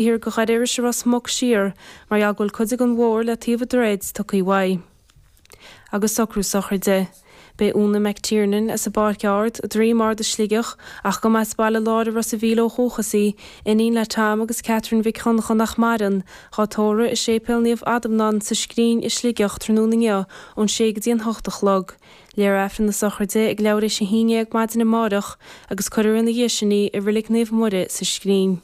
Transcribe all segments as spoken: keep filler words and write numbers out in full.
Thiar go Dhoire Iorrais i Ros Muc siar mar gheall go bhfuil cuid den bhóthar le taobh an droichid tugtha uaidh. Agus socrú sochraide. Beidh Úna McTiernan as an bPáirc Ard, Droim Ard i Sligeach, ach go mba as Baile Láir i Ros a' Mhíl ó dhúchas í, iníon le Tom agus Catherine Mhic Dhonncha nach maireann, dhá tórramh i Séipéal Naomh Adhamhnán sa Scrín i Sligeach tráthnóna inniu ón sé go dtí an hocht a chlog. Léifear Aifreann na sochraide ag leathuair théis a haon déag maidin amárach agus cuirfear ina dhiaidh sin í i Reilig Naomh Muire sa Scrín.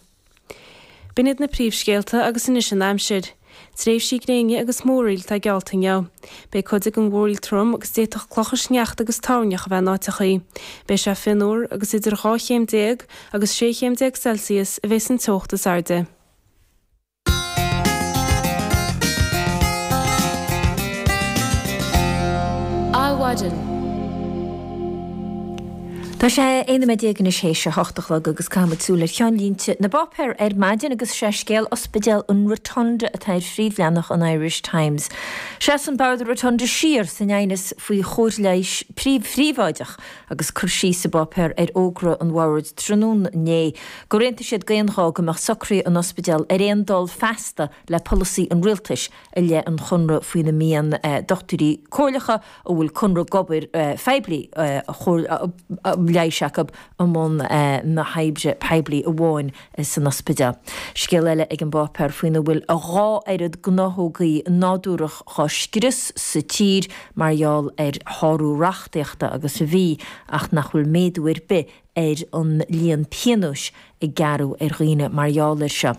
B'in iad na príomhscéalta agus anois an aimsir. Tréimhsí gréine agus múraíl atá geallta inniu. Beidh cuid den mhúraíl trom agus d'fhéadfadh clocha sneachta agus toirneach a bheith in áiteachaí. Beidh sé fionnuar agus idir dhá chéim déag agus sé chéim déag Celsius a bheas an teocht is airde. Adhmhaidin. Tá sé aon nóiméad déag anois théis a hocht a chlog agus caithfidh muid súil ar cheannlínte na bpáipéar ar maidin agus sé scéal Ospidéal an Rotunda atá ar phríomhleathanach an Irish Times. Seasann Bord an Rotunda siar san aighneas faoi chóir leighis phríobháideach agus cur síos sa bpáipéar ar fhógra an Bhoird tráthnóna inné gur aontaigh siad d'aon ghuth go mbeadh socruithe an ospidéil ar aon dul feasta le polasaí an rialtais i leith an chonradh faoina mbíonn dochtúirí comhairleacha a bhfuil conradh d'obair phoiblí leighis acu i mbun na hoibre poiblí amháin san ospidéal. Scéal eile ag an bpáipéar faoina bhfuil a dhá oiread gnáthógaí nádúrach dhá scrios sa tír mar gheall ar shárú reachtaíochta agus a bhí ach nach bhfuil méadú ar bith ar an líon pionóis a gearradh ar dhaoine mar gheall air seo.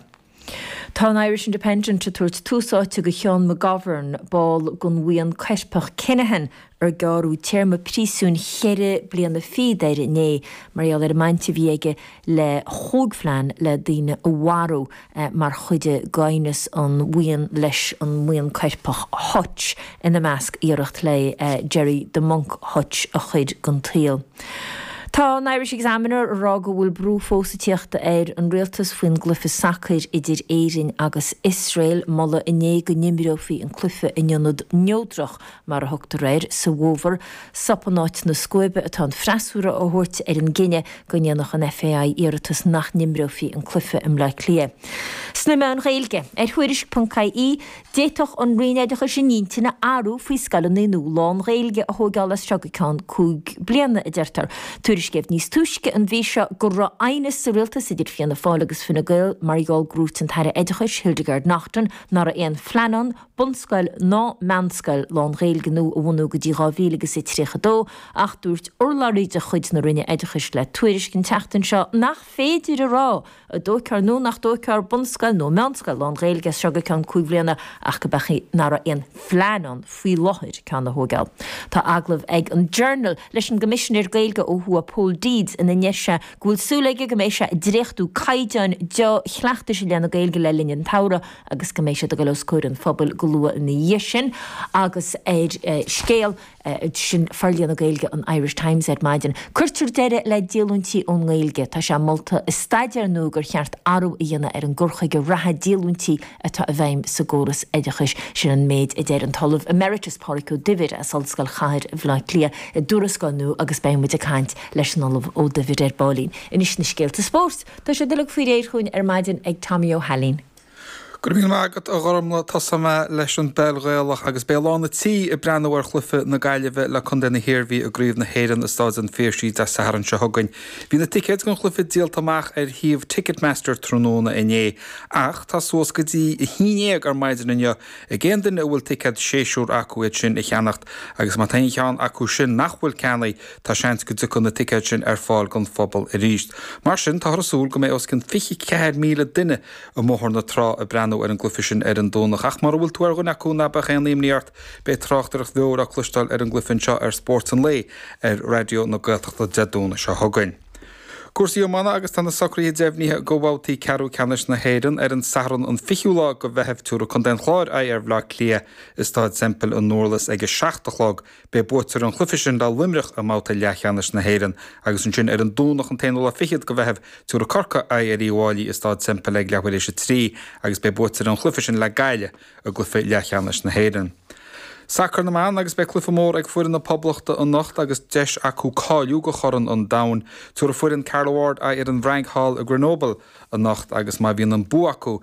Tá an Irish Independent ag tabhairt tús áite do Sheán McGovern, ball den bhuíon coirpeach Kinahan, ar gearradh téarma príosúin cheithre bliana fichead air inné mar gheall ar an mbaint a bhí aige le chúig phlean le daoine a mharú mar chuid d'aighneas an bhuíon leis an mbuíon coirpeach Hutch, ina measc iarracht le Gerry 'The Monk' Hutch a chur den tsaol. Tá an Irish Examiner ag rá go bhfuil brú fós ag tíocht ar an rialtas faoin gcluiche sacair idir Éirinn agus Iosrael. Moladh inné go n-imreofaí an cluiche in ionad neodrach, mar a thugtar air, sa bhfómhar. Sop in áit na scuaibe atá an freasúra á thabhairt ar an gcinneadh go ndéanfadh an FAI iarratas nach n-imreofaí an cluiche i mBleá Cliath. Sna meáin Ghaeilge, ar Thuairisc ponc IE, D'fhéadfadh an Roinn Oideachais a n-intinn a athrú faoi scoileanna nua lán-Ghaeilge a thóigeáil as seo go ceann cúig bliana, a deirtear. Tuairiscíodh níos túisce an mhí seo go raibh aighneas sa rialtas idir Fianna Fáil agus Fine Gael mar gheall gur dhúirt an tAire Oideachais, Hildegarde Naughton, nach raibh aon phlean ann bunscoil ná meánscoil lán-Ghaeilge nua a bhunú go dtí dhá mhíle agus a tríocha dó ach dúirt urlabhraí de chuid na Roinne Oideachais le Tuairisc an tseachtain seo nach féidir a rá an dtógfar nó nach dtógfar bunscoil nó meánscoil lán-Ghaeilge as seo go ceann cúig bhliana ach go beadh nach raibh aon phlean ann faoi láthair ceann a thógáil. Tá agallamh ag an Journal leis an gCoimisinéir Gaeilge ó thuaidh Pól Deeds ina ndeir sé go bhfuil súil aige go mbeidh sé ag dréachtú caighdeáin dea-chleachtais i leith na Gaeilge le linn an tsamhraidh agus go mbeidh siad ag dul os comhair an phobail go luath ina dhiaidh sin agus ar scéal Sin forlíonadh Gaeilge an Irish Times ar maidin. Cuirtear deireadh le díolúintí ón nGaeilge. Tá sé molta i staidéar nua gur cheart athrú a dhéanamh ar an gcur chuige reatha díolúintí atá i bhfeidhm sa gcóras oideachais. Sin an méid a deir an tOllamh Emeritus Pádraig Ó Duibhir as Ollscoil Chathair Bhaile Átha Cliath i dtuarascáil nua agus beidh muid ag caint leis an Ollamh Ó Duibhir ar baillín. Anois na scéalta spóirt. Tá siad uilig faoi réir chugainn ar maidin ag Tommy Ó hAilín. Go raibh míle maith agat, a Ghormlaith. Tosóidh mé leis an bpeil Ghaelach agus beidh lán an tí ag breathnú ar chluiche na Gaillimhe le Contae na hIarmhí i gCraobh na hÉireann i Stáid an Phiarsaigh Dé Sathairn seo chugainn. Bhí na ticéid don chluiche díolta amach ar shuíomh Ticketmaster tráthnóna inné ach tá suas go dtí a haon déag ar maidin inniu ag aon duine a bhfuil ticéad séasúir acu iad sin a cheannacht agus má tá aon cheann acu sin nach bhfuil ceannaithe tá seans go dtiocfaidh na ticéid sin ar fáil don phobal arís. Mar sin táthar ag súil go mbeidh os cionn fiche ceathair míle duine i mBóthar na Trá ag breathnú ar an gcluiche sin ar an Domhnach. Ach mura bhfuil tú ar dhuine acu, ná beadh aon imní ort, beidh tráchtaireacht bheo le cloisteáil ar an gcluiche anseo ar Spórt an Lae ar Raidió na Gaeltachta Dé Domhnaigh seo chugainn. Cúrsaí iomána agus tá na socruithe deimhnithe do bhabhtaí ceathrú ceannais na hÉireann ar an Satharn an fichiú lá de Mheitheamh. Tabharfaidh Contae an Chláir aghaidh ar Bhaile Átha Cliath i Staid Semple i nDurlas ag a seacht a chlog. Beidh buaiteoir an chluiche sin le Luimneach i mbabhta leathcheannais na hÉireann agus ansin ar an Domhnach an t-aonú lá fichead de Mheitheamh tabharfaidh Corcaigh aghaidh ar Uíbh Fhailí i Staid Semple ag leathuair théis a trí agus beidh buaiteoir an chluiche sin le Gaillimh i gcluiche leathcheannais na hÉireann. Sacar na mban agus beidh cluiche mór ag foireann na Poblachta anocht agus deis acu cáiliú do Chorn an Domhain. Tabharfaidh foireann Carla Ward aghaidh ar an bhFrainc thall i Grenoble anocht agus má bhíonn an bua acu